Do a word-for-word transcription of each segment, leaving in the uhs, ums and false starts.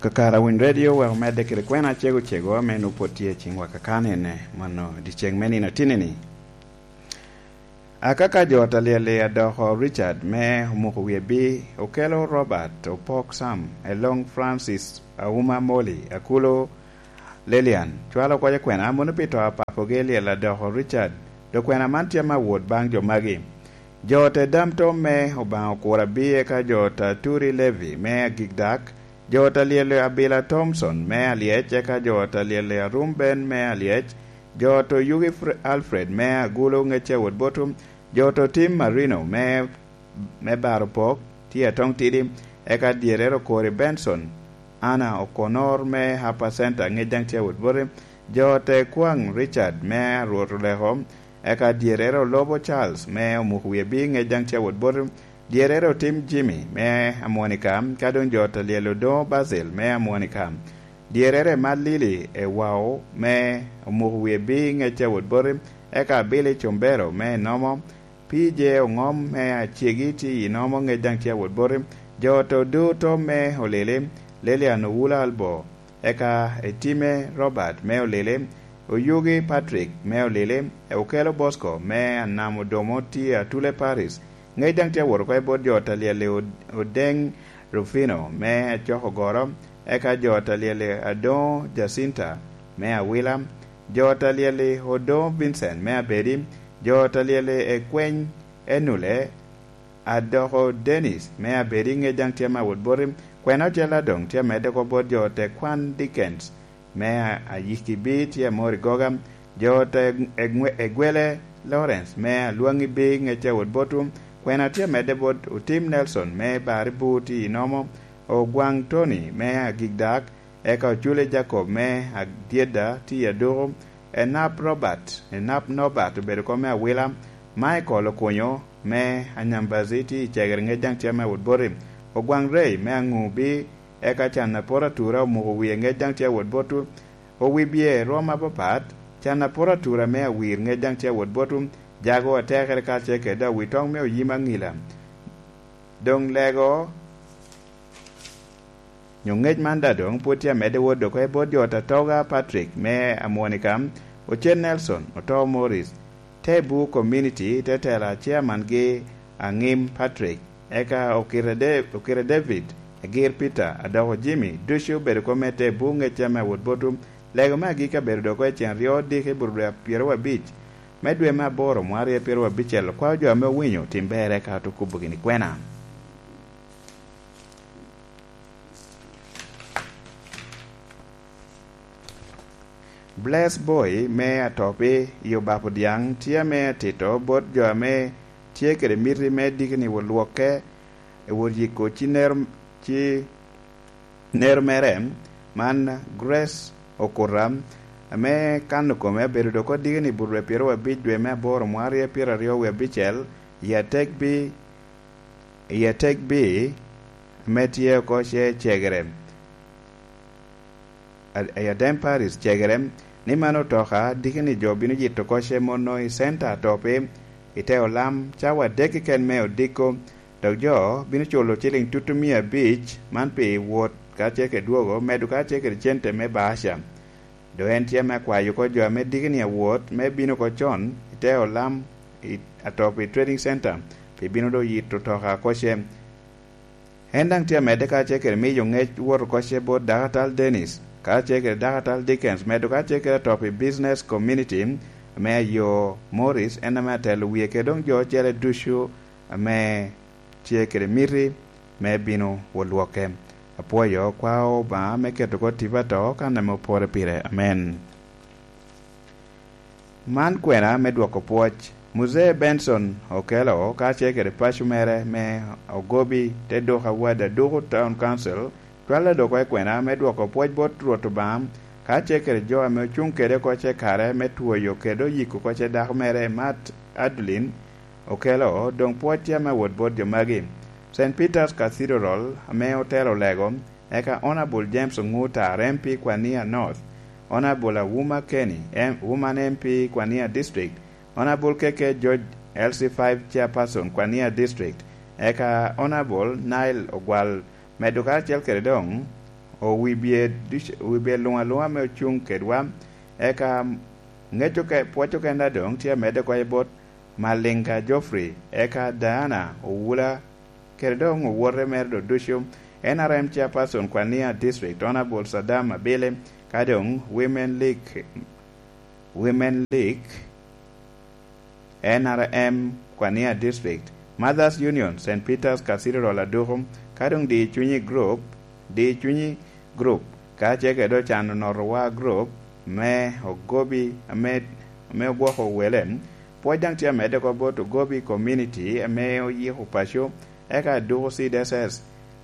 Kakara Winy Radio wek omedde kede kwena acego cego ame nwoŋo pwod tye i ciŋwa kakano ene, mano dyeceŋ me nino atinni-ni. Akaka jo ta lyel-li adoko Richard me omuko wie bi, okelo Robert Opok Sam, Elong Francis Auma Moli, Akulo Lelian, cwalo oko i kwena mono pi to a papogi lyel adoko Richard, dok kwena man tye ame awot baŋ jo magi. Jo te dam tom me Obaŋa okura bi eka jo ta Turi Levi me Agikdak, jo ta lyel Abila Thompson me Alyec eka jo ta lyel Arum Ben me Alyec, jo to Yugi Fre- Alfred me Agulu Ŋecce Wot Botum, jo to Tim Marino me, me Baro Pok, tye Atoŋ Tidi, eka dyerere Okori Benson, Anna Okonor me Hapa Center Ŋec daŋ tye Wot Bote, jo te Kwaŋ Richard me Arwot Oleko, eka dyerere Olobo Charles me Omuk Wie Bi Ŋec daŋ tye Wot Bote, dyerere Otim Jimmy me Amonika, ka doŋ jo ta lyel Odoŋo Basil me Amonika. Dyerere Malili Ewao me Omuk Wie Bi Ŋec a Wot Bote, eka Billy Combero me Enomo, P J Oŋom me Acegi tye i Enomo Ŋec daŋ tye a Wot Bote, jo to duto me Olili, Lilian Owula Albo, eka Etime Robert me Olili, Oyugi Patrick me Olili, Okelo Bosco me Anam Odomo tye Atule Paris, Ŋec daŋ tye awot oko i bot jo ta lyel-li Od- Odeŋ Rufino me Acok Ogoro, eka jo ta lyel-li Adoŋo Jacinta me Awila, jo ta lyel-li Odoŋo Vincent me Abedi, jo ta lyel-li Ekweny Enule, Adoko Dennis me Abedi Ŋec daŋ tye ame awot boti, kwena ocel adoŋ tye amedde oko bot jo te kwan Dickens me a- Ayiki Bi tye amor i goga, jo te egwe- egwele Lawrence me Alwaŋi Bi Ŋec a Wot Botu, kwena tye amedde bot Otim Nelson me Bari Buti i Nomo, Ogwaŋ Tony me Agikdak, eka Ocule Jacob me Adyedda tye i Aduku, Enap Robert, Enap Norbert obedo kom me Awila, Michael Okunyo me Anyambazi tye i Cegere Ŋec daŋ tye ame Wot Boti, Ogwaŋ Rei me Aŋubi, eka can apor atura omuko wie ŋec daŋ tye awot bot owibye rwom apapat, can apor atura me awir ŋec daŋ tye awot bot jago atekere kacel kede awitoŋ me oyim aŋila. Doŋ lego nyo ŋec man daŋ doŋ pwod tye amedde wot dok i bot jo Tatoga Patrick me Amwonika, Ocen Nelson, Oto Morris, Tebu Community, te tela chairman gi Aŋim Patrick, eka Okite De- Okite David, Agir Peter, Adoko Jimmy, ducu obedo kom me Tebu ŋec ame awot botu. Lego me agikki abedo dok i cen ryo diki i bur dwe pyeraryo abic me dwe me aboro mwaryo pyeraryo abicel. Okwao jo ame owinyo tim berre ka otukubo gini kwena. Bless Boy me Atopi i Obapo Dyaŋ tye ame atito bot jo ame tye kede miti me diki ni wot lwokke, wot yiko ci nero, ci nero mere, man Grace Okuta, ame kano kome abedo dok odiki ni burre pyeraryo abic dwe me aboro mwaryo pyeraryo wie abicel, i Atekbi, i Atekbi, ame tye oko ce Cegere. A- i Adem Paris, Cegere, ni man otoka diki ni jo bino yito oko ce mono i center Atopi i te olam cawa adek keken me odiko, dok jo bino culo ciling tutu mia abic man pi wot kacel kede dwogo, medo kacel kede cente me baaca. Dok en tye me kwayo oko jo ame diki ni awot me bino oko con i te olam i Atopi Trading Center pi bino do yito otoka oko ce. En daŋ tye amedde kacel kede miyo ŋec wot oko ce bot Dakatal Dennis, kacel kede Dakatal Dickens, medo kacel kede atop i Business Community ame ayo Morris, en ame atelo wie kede doŋ jo ocele ducu ame tye kede miti me bino wot lwokke. Apwoyo kwao Obaŋa me keto oko tipo ato kan ame opore pire. Amen. Man kwena me dwoko pwoc. Muzee Benson Okello kacel kede paco mere me Ogobi te dok awadi aduku Town Council cwalo doko i kwena me dwoko pwoc bot Rwot Obaŋa kacel kede jo ame ocuŋ kede oko ce kare me twoyo kede oyiko oko ce dako mere Matt Adeline Okello, doŋ pwoc tye ame wot bot jo magi. Saint Peter's Cathedral ame otelo lego, eka Honourable James Onguta, R M P Kwania North, Honourable Awuma Kenny, M- Woman M P Kwania District, Honourable K K George, L C five Chairperson Kwania District, eka Honourable Nile Ogwal, medo karacel kede doŋ owibye duc-, owibye luŋ aluŋa ame ocuŋ kedwa, eka ŋec oke-, pwoc okenda doŋ tye amedde oko i bot Malinga Geoffrey, eka Diana Owula, kede doŋ owote mere doŋ ducu, N R M Chairperson Kwania District, Honorable Saddam Abili, ka doŋ Women League, Women League, N R M Kwania District, Mothers Union, Saint Peter's Cathedral Aduku, ka doŋ Di Cunyi Group, Di Cunyi Group, ka ce kede Ocano Notowa Group, me Ogobi, ame, ame ogwoko wele, pwoc daŋ tye amedde oko bot Ogobi Community, ame oyiko paco, eka Aduku Seed S S,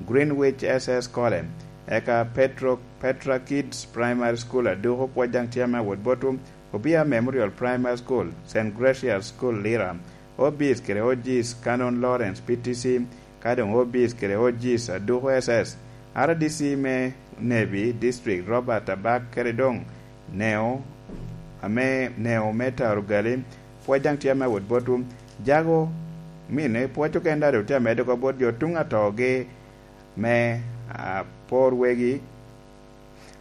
Greenwich S S College, eka Petro, Petra Kids Primary School Aduku, pwoc daŋ tye ame awot botwu, Obia Memorial Primary School, Saint Gracious School Lira, Obis kede Ogis Canon Lawrence P T C, ka doŋ Obis kede Ogis Aduku S S, R D C me Nebi District Robert Abak kede doŋ Neo, ame Neo me Tarugali, pwoc daŋ tye ame awot botwu. Jago mine pwoc okenda doŋ tye amedde oko bot jo tuŋ atogi me, ah, apor wegi.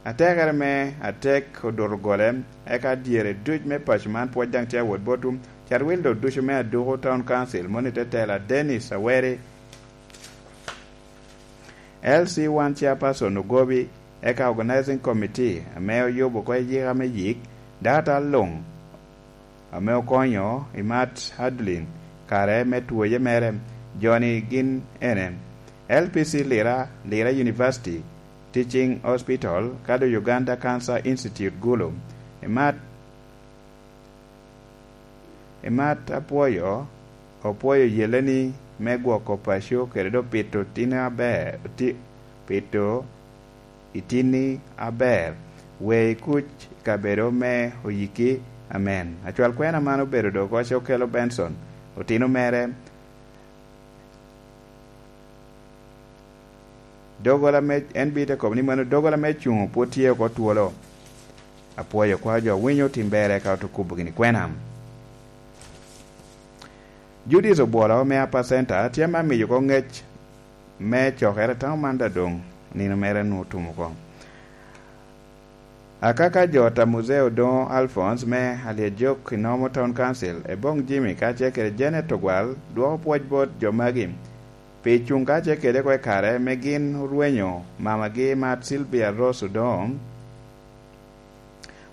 Atekere me atek odoto gole, eka dyere duc me paco man pwoc daŋ tye awot botwu. Carwil doŋ ducu me Aduku Town Council, moni te tela Dennis Aweri, L C one Chairperson Ogobi, eka Organizing Committee ame oyubo oko i yika me yik, data luŋ ame okonyo i Matt Hadlin kare me twoye mere, joni gin ene, L P C Lira, Lira University, Teaching Hospital, ka doŋ Uganda Cancer Institute Gulu. I Matt, i Matt apwoyo, opwoyo yeleni me gwoko paco kede doŋ pito tini aber, ti-, pito itini aber, we i kuc i kabedo me oyiki. Amen. Acwal kwena man obedo doŋ oko Ocokelo Benson, otino mere. Dogola me, en bite kobo ni mano dogola me cuŋ pwod tye oko twolo. Apwoyo kwa jo winyo tim bere ka otukubo gini kwena. Judith Obwolo me Upper Center tye ma miyo oko ŋec me cokere tamo man da doŋ nino mere nwoŋo otum oko. Akaka jo ta Muzeo Odoŋo Alphonse me Alyejok i Nomo Town Council, Eboŋ Jimmy kacel kede Janet Ogwal dwoko pwoc bot jo magi pi cuŋ kacel kede oko i kare me gin orwenyo mamagi Matt Sylvia Rose Odoŋo.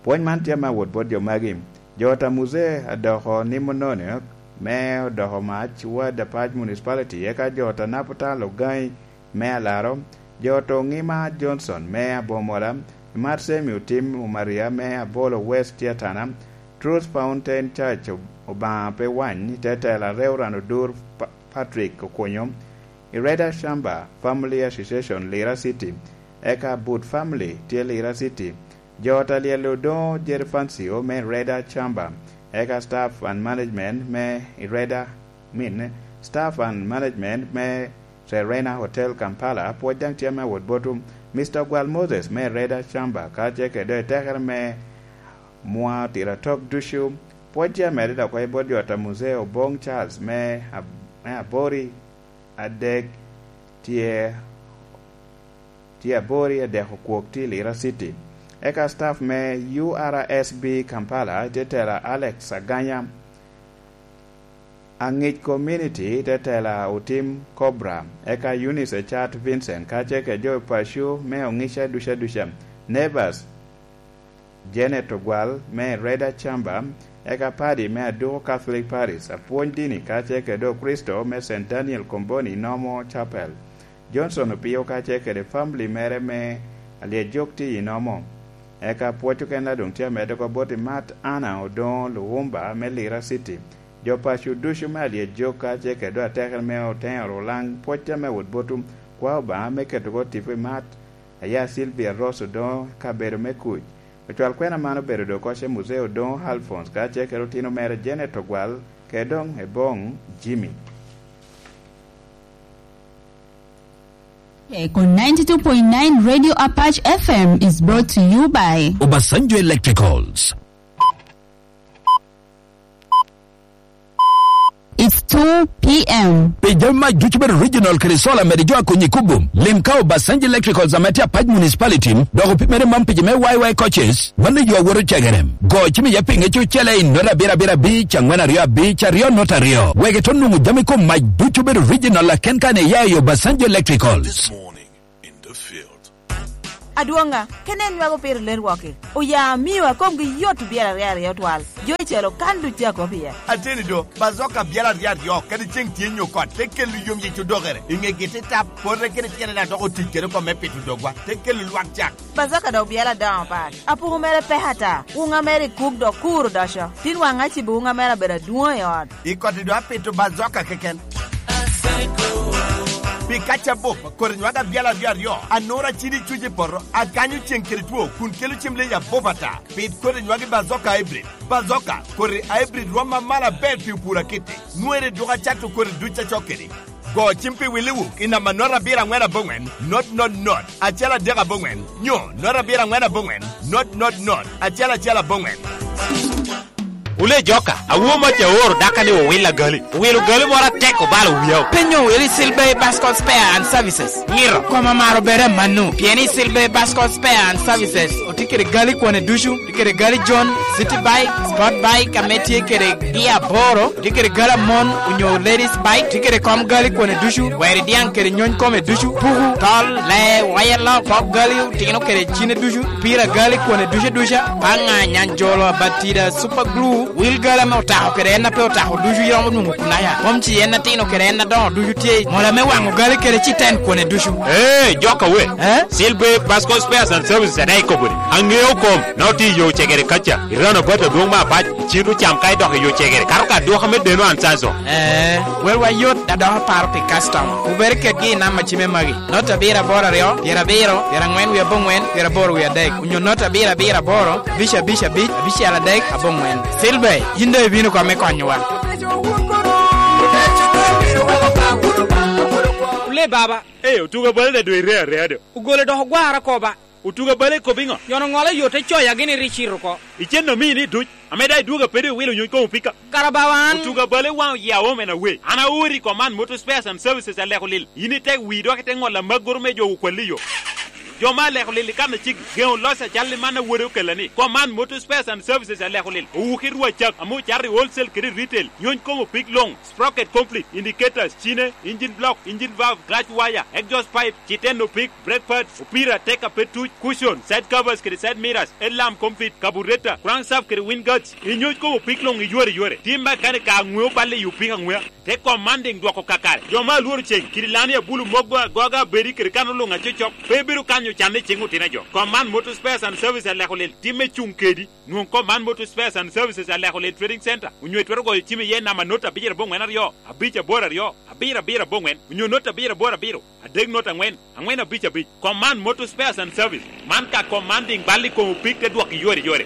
Pwony man tye me awot bot jo magi. Jo ta Muzee adoko nimo nono me odoko mac Ward Apac Municipality, eka jo ta Naputal Ogangi me Alaro, jo ta Oŋima Johnson me Abomola, Marsemi Otim Omaria me Abolo West Tyatana, Truth Fountain Church Obaŋa pe wany, Tetela Reverend Odur Pa-, Patrick Okunyo, Ireda Shamba Family Association Lira City, eka But Family tye Lira City, jo ta Lyel Odoŋo Jerry Fancio me Ireda Shamba, eka Staff and Management me Ireda, min, Staff and Management me Serena Hotel Kampala, pwoc daŋ tye me awot botwu. Mister Ogwal Moses me Ireda Shamba, ka ce kede etekere me mwa tira tok ducu, pwoc tye amedde dok i bot jo ta Muzee Oboŋ Charles me Ab-, me Abori adek tye, tye Abori adek okwok tye i Lira City. Eka staff me U R S B Kampala, Tetela Alex Aganya, Aŋic Community, Tetela Otim Cobra, eka Eunice Echat Vincent, kacel kede jo paco me Oŋica duca duca, Neighbors, Janet Ogwal me Reda Chamba, eka padi me Aduku Catholic Parish, apwony dini kacel kede Okricito me Saint Daniel Komboni Nomo Chapel, Johnson Opio kacel kede family mere me Alyejok tye i Nomo. Eka pwoc okene doŋ tye amedde oko bot i Mat Anna Odoŋo Luwumba me Lira City. Jo paco ducu me Alyejok kacel kede atekere me Oteŋo Rulaŋ, pwoc tye me wot botwu, kwa Obaŋa me keto oko tipo i Mat Aya Sylvia Ross Odoŋo kabedo me kuc. Ocwal kwena man obedo doŋ oko ce Muzee Odoŋo Alphonse kacel kede otino mere Janet Ogwal, kede doŋ Eboŋ Jimmy. On ninety-two point nine Radio Apache F M is brought to you by Obasanjo Electricals. It's two p m. Pi jami mac ducu bedo original kede solar mede jo a konyi kubo, lim ka Obasanjo Electricals ame tye Apac Municipality, dok opimere man pi jo me Y Y coaches, mano yo awoto cegere. Go cim iye pi ŋec ocele i nota abiro abiro abic, angwen aryo abic, aryo nota aryo. Wek ito nwoŋo jami kom mac ducu bedo original aken kan iya i Obasanjo Electricals. This morning in the field. Adwoŋa, kene en nwago piro ler wok-ki. Oya amio a komgi yot obyelo aryo aryo twal. Jo icel okan duc a kop iye. Ateni do, Bazoka byel aryo aryo, kadi ceŋ tye nyo kot, te kelo yom yic odokere. I ŋegi te tap, pote kede tyene daŋ dok otic kede oko me pito dogwa, te kelo lwak cak. Bazoka dok byel adoŋo pat. Apuku mere pek ata. Wuŋa mere i kuk dok kur odoco. Tin waŋ acibo wuŋa mere abedo adwoŋ i ot. I koti do apito Bazoka keken. Pi kaca bup, kodi nywag abyel aryo aryo, anura cidi cuc i poto, akanyo ceŋ kede two, kun kelo cem leyi abup ata. Pit kodi nywag i Bazoka Hybrid. Bazoka, kodi Hybrid rwom amalo aber pi opur akiti. Nwere dwogo acato kodi duc acok kedi. Go cim pi Willy Wuk i namba not abiro aŋwen aboŋwen, not not not, acel adek aboŋwen, nyo not abiro aŋwen aboŋwen, not not not, acel acel aboŋwen. Wule joka, awo mac aoro daka ni owil agali. Owilo gali moro atek obalo wiya. Penyo wili Silbey Bascom Spare and Services. Ngiro. Koma maro bere manu. Pien i Silbey Bascom Spare and Services, otye kede gali kwane ducu, tye kede gali John, City Bike, Sport Bike, ame tye kede gia aboro, tye kede gali amon, onyo ladies bike, tye kede kom gali kwane ducu, weri diaŋ kede nyony kome ducu, puku, tol, lee, waya lok, pok gali, otino kede cine ducu, pira gali kwane ducu duca, paŋa, nyanjolo, abatida, super glue, wil gali ame otako kede en a pe otako ducu iromo nwoŋo kunaya. Mom ci en atino kede en adoŋo ducu tye, mola me waŋo gali kede citen kwane ducu. Ee, joka we. Eh? Silbe Basco Spares and Services adaŋ ikobo ni, aŋeo kom, na otye i yo cegere kaca, i roundabout adwoŋ me Apac, icito cam ka idok i yo cegere, kato ka adwoka me deno an Sanso. Ee, welwa yot, da dok aparo pi customer. Wubed kedgi i namba cime magi. Not abiro aboro aryo, pyerabiro, pyeraŋwen wie aboŋwen, pyeraboro wie adek, onyo not abiro abiro aboro, abic abic abic, abicel adek, aboŋwen. Silver, yin doŋ ibino kong me konyowa. Ule baba. Ee, otuga bale da doŋ ire area do. Ogole dok ogwara koba. Otuga bale ikobo iŋo? Yono ŋolo yo te coya gini ri cito oko. Icen omini duc. Ame daŋ idwogo apedi iwilo nyuc kom opika. Kara bawa an. Otuga bale waŋ oya omen awe. An aori i Command Motor Spares and Services aleko lil. Yin itek wii dok ite ŋolo amagoro me jo okwalli yo. Jo ma aleko lil i kan acik geŋo loc acal i man awode okella ni. Command Motor Spares and Services aleko lil. Owuki rwa cak ame ocato i wholesale kede i retail. Nyuc kom opik luŋ. Sprocket complete, indicators, cine, engine block, engine valve, clutch wire, exhaust pipe, citen opik, brake pads, opira, tek a pe tuc, cushion, side covers kede side mirrors, headlamp complete, carburetor, crankshaft kede wind guards, inyuc kom opik luŋ i yore yore. Tim mekanika aŋweo balle i opik aŋwea. Te kom man diŋ dwoko kakare. Jo ma alworo ceŋ, kidi lani abulu moggo agoga abedi kede kano luŋ acocok, pe bedo kanyo canne i ceŋ otino jo. Kom man Motor Spares and Service aleko lil, timme cuŋ kedi. Nwoŋ kom man Motor Spares and Services aleko lil Trading Center, onyo itwero goyo cim iye namba not abiro aboŋwen aryo, abic aboro aryo, abiro abiro aboŋwen, onyo not abiro aboro abiro, adek not aŋwen, aŋwen abic abic. Kom man Motor Spares and Service, man ka kom man diŋ bal i kom opik te dwok i yore yore.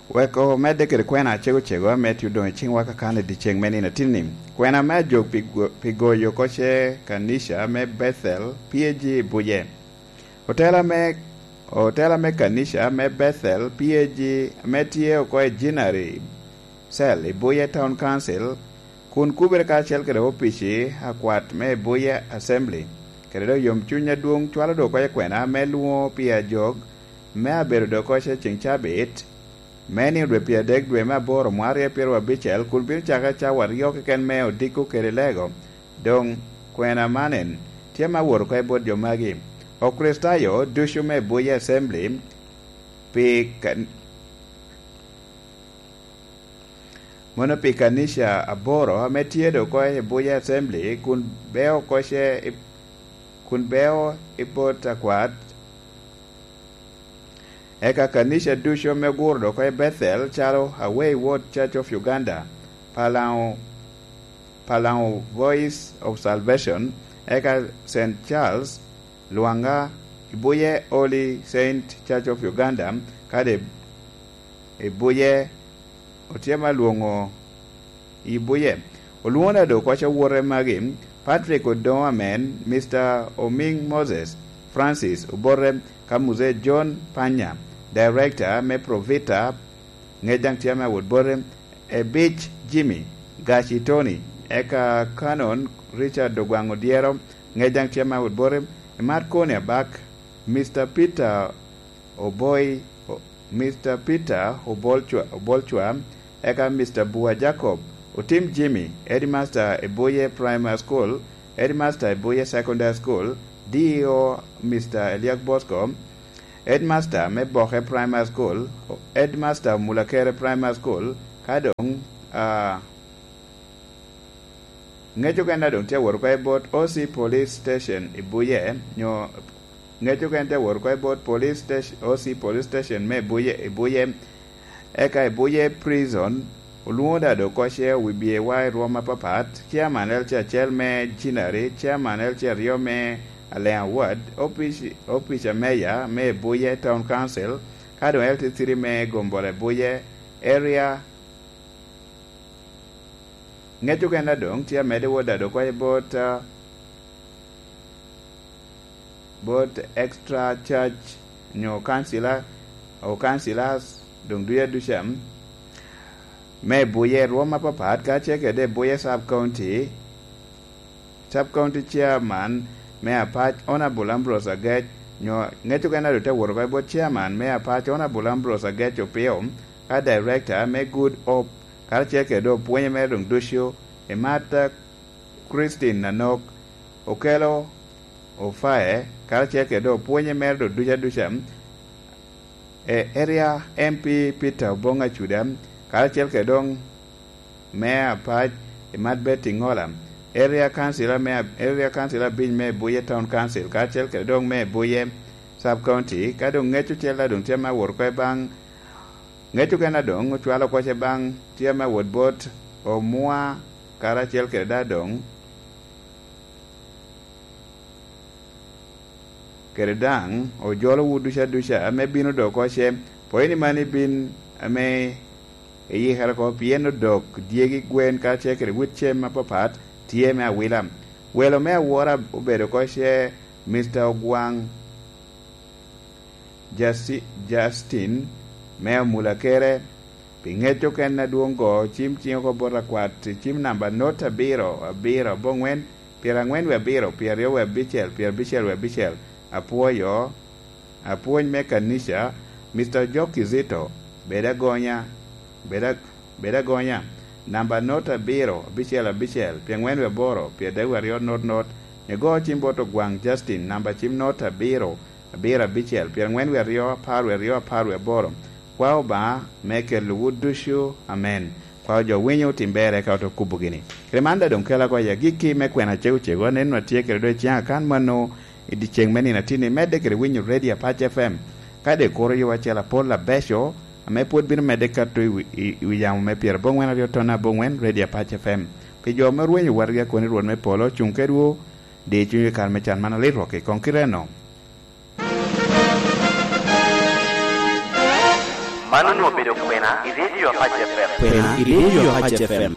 Wek omedde kede kwena acego cego ame tye odoŋ i ciŋwa kakan i dyeceŋ me nino atinni. Kwena me ajok pi go-, pi goyo oko ce kanica me Bethel P A G i Buje. Otela me, otela me kanica me Bethel P A G ame tye oko i Jinari Cell i Buye Town Council, kun kubere karacel kede opici akwat me Buye Assembly, kede dok yomcuny adwoŋ cwalo dok oko i kwena me lwoŋo pi ajok me abedo dok oko i ceŋ cabit, me nino dwe pyeradek dwe me aboro mwaka aryo pyeraryo abicel, kun bino cake cawa aryo keken me odiko kede lego. Doŋ kwena man en, tye me awot oko i bot jo magi, Okricitayo ducu me Buye Assembly, pi kan-, mono pi kanica aboro ame tye dok oko i Buye Assembly, kun beo oko ce i, kun beo i bot akwat. Eka kanica ducu ame oguro dok oko i Bethel, calo Away World Church of Uganda, Palaŋo, Palaŋo Voice of Salvation, eka Saint Charles, Lwanga, Ibuye Holy Saint Church of Uganda, kadi Ibuye, otye ma lwoŋo Ibuye. Olwoŋo dok oko ce owote magi, Patrick Odoŋo Amen, Mister Oming Moses, Francis Obote, ka Muzee John Panya, Director me Provita, ŋec daŋ tye ame awot bote, Ebich Jimmy, Gaci Tony, Eka Canon Richard Ogwaŋ Odyero, ŋec daŋ tye ma wot bote, Marconi Abak, Mister Peter Oboi, o-, Mister Peter Obolcwa, Obolcwa, eka Mister Bua Jacob, Otim Jimmy, Headmaster i Buye Primary School, Headmaster i Buye Secondary School, D E O Mister Eliak Bosco, Headmaster me Boke Primary School, Headmaster Mulakere Primary School, ka doŋ, ah, ŋec okene doŋ tye awot oko i bot O C Police Station i Buye, nyo ŋec okene tye awot oko i bot Police Station, O C Police Station me Buye, i Buye, eka i Buye Prison, olwoŋo da doŋ oko ce owibye wa i rwom apapat, Chairman L C acel me Jinari, Chairman L C aryo me Alea Ward, opic, opic a Mayor me Buye Town Council, ka doŋ L C three me Gombole Buye Area. Ŋec okene doŋ tye amedde wot da doŋ oko i bot, ah, bot extra church nyo councilor, o councilors, doŋ duca duca, me Buye rwom apapat, ka ce kede Buye Sub County, Sub County Chairman me Apac, Honorable Ambrose Agec, nyo ŋec okene doŋ te wot oko i bot Chairman me Apac, Honorable Ambrose Agec Opio, ka Director me Good Hope, karacel kede doŋ opwonye mere doŋ ducu, i Martha Christine Nanok, Okello Ofaye, karacel kede doŋ opwonye mere doŋ duca duca, e Area M P Peter Oboŋ Acuda, karacel kede doŋ me Apac, Imat Betty Ŋola, Area Councilor me, Area Councilor abic me Buye Town Council, karacel kede doŋ me Buye Sub County, ka doŋ ŋec ocel a doŋ tye me awot oko i baŋ, ŋec okene a doŋ ocwalo oko ce baŋ tye me awot bot Omua, karacel kede da doŋ kede daŋ ojolowu duca duca ame bino doŋ oko ce, pwony ni mani bin ame iyikere oko, pien odok dyegi gwen karacel kede wit cem apapat tye me awila. Welo me awora obedo oko ce, Mister Ogwaŋ Justi-, Justin me Omulakere, pi ŋec okene adwoŋ go, cim ciŋ oko bot akwat, cim namba not abiro, abiro, aboŋwen, pyerangwen wie abiro, pyeraryo wie abicel, pyerabicel wie abicel. Apwoyo, apwony me kanica, Mister Ojok Kizito, bed agonya, bed ag-, bed agonya, namba not abiro, abicel, abicel, pyerangwen wie aboro, pyeradek wie aryo, not, not, igo cim bot Ogwaŋ Justin, namba cim not abiro, abiro abicel, pyerangwen wie aryo, apar wie aryo, apar wie aboro. Kwa Obaŋa me kelowu ducu. Amen. Kwa jo winyo otim berre ka oto kubo gini. Kede man da doŋ kela oko i agikki me kwena cego cego, anen nwa tye kede doŋ i ciŋ akan mano i dyeceŋ me nino atinni, medde kede winyo Radio Apac F M. Ka de kuro yo acel apol abeco, ame pwod bino medde kato i wi, i, i wi yamo me pyeraboŋwen aryo ton aboŋwen, Radio Apac F M. Pi jo ame orwenyo watgi akoni Rwot me polo, cuŋ kedwu, di cunywu i kare me can man alit rwok i koŋ kite-no. Man onwoŋo obedo kwena i Radio Apac F M. Kwena i Radio Apac F M.